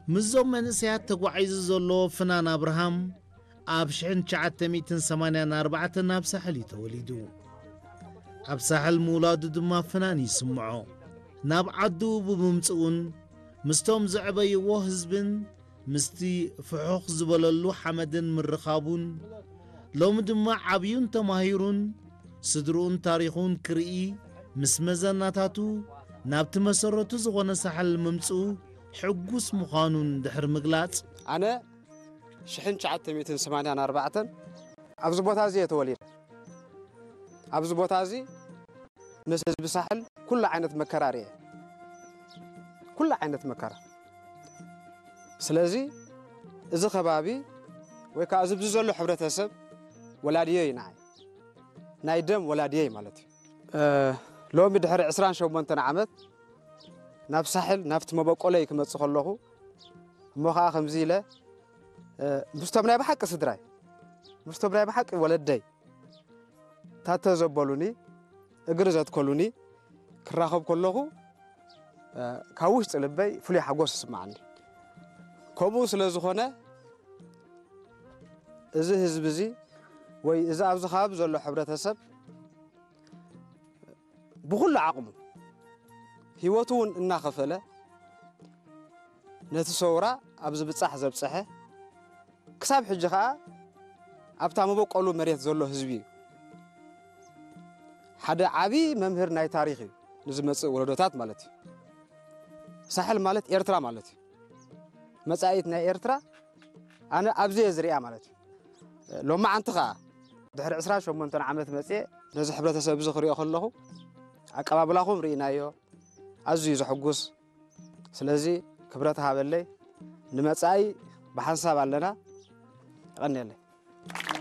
ምስዞም መንእሰያት ተጓዒዙ ዘሎ ፍናን ኣብርሃም ኣብ ሽሕን ትሽዓተ ሚእትን ሰማንያን ኣርባዕተን ኣብ ሳሕል እዩ ተወሊዱ። ኣብ ሳሕል ምውላዱ ድማ ፍናን ይስምዖ። ናብ ዓዱ ብምምጽኡን ምስቶም ዘዕበይዎ ህዝብን ምስቲ ፍሑኽ ዝበለሉ ሓመድን ምርኻቡን፣ ሎሚ ድማ ዓብዩን ተማሂሩን ስድርኡን ታሪኹን ክርኢ ምስ መዘናታቱ ናብቲ መሰረቱ ዝኾነ ሳሕል ምምጽኡ ሕጉስ ምዃኑን ድሕሪ ምግላጽ፣ ኣነ ሽሕን ትሽዓተ ሚእትን ሰማንያን ኣርባዕተን ኣብዚ ቦታ እዚ እየ ተወሊደ። ኣብዚ ቦታ እዚ ምስ ህዝቢ ሳሕል ኩሉ ዓይነት መከራ ርእየ። ኩሉ ዓይነት መከራ። ስለዚ እዚ ከባቢ ወይ ከዓ እዚ ኣብዚ ዘሎ ሕብረተሰብ ወላድዮ እዩ ንዓይ። ናይ ደም ወላድየይ ማለት እዩ። እ፣ ሎሚ ድሕሪ ዕስራን ሸሞንተን ዓመት ናብ ሳሕል ናብቲ መበቆለይ ክመጽእ ከለኹ እሞ ከዓ ከምዚ ኢለ እ፣ ምስቶም ናይ ብሓቂ ስድራይ ምስቶም ናይ ብሓቂ ወለደይ ታተ ዘበሉኒ እግሪ ዘትከሉኒ ክራኸብ ከለኹ እ፣ ካብ ውሽጢ ልበይ ፍሉይ ሓጎስ ይስምዓኒ። ከምኡ ስለ ዝኾነ እዚ ህዝቢ እዚ ወይ እዚ ኣብዚ ከባቢ ዘሎ ሕብረተሰብ ብኹሉ ዓቕሙ ህይወቱ እውን እናኸፈለ ነቲ ሰውራ ኣብዚ ብጻሕ ዘብጽሐ ክሳብ ሕጂ ኸዓ ኣብታ መበቆሉ መሬት ዘሎ ህዝቢ እዩ። ሓደ ዓቢ መምህር ናይ ታሪኽ እዩ ንዝመጽእ ወለዶታት ማለት እዩ። ሳሕል ማለት ኤርትራ ማለት እዩ። መጻኢት ናይ ኤርትራ ኣነ ኣብዚ እየ ዝሪኣ ማለት እዩ። ሎማዓንቲ ኸዓ ድሕሪ ዕስራን ሸሞንተን ዓመት መጽየ ነዚ ሕብረተሰብ እዚ ክሪኦ ከለኹ ኣቀባብላኹም ርኢናዮ፣ ኣዝዩ ዘሕጉስ። ስለዚ ክብረት ሃበለይ፣ ንመጻኢ ብሓንሳብ ኣለና። የቐንየለይ።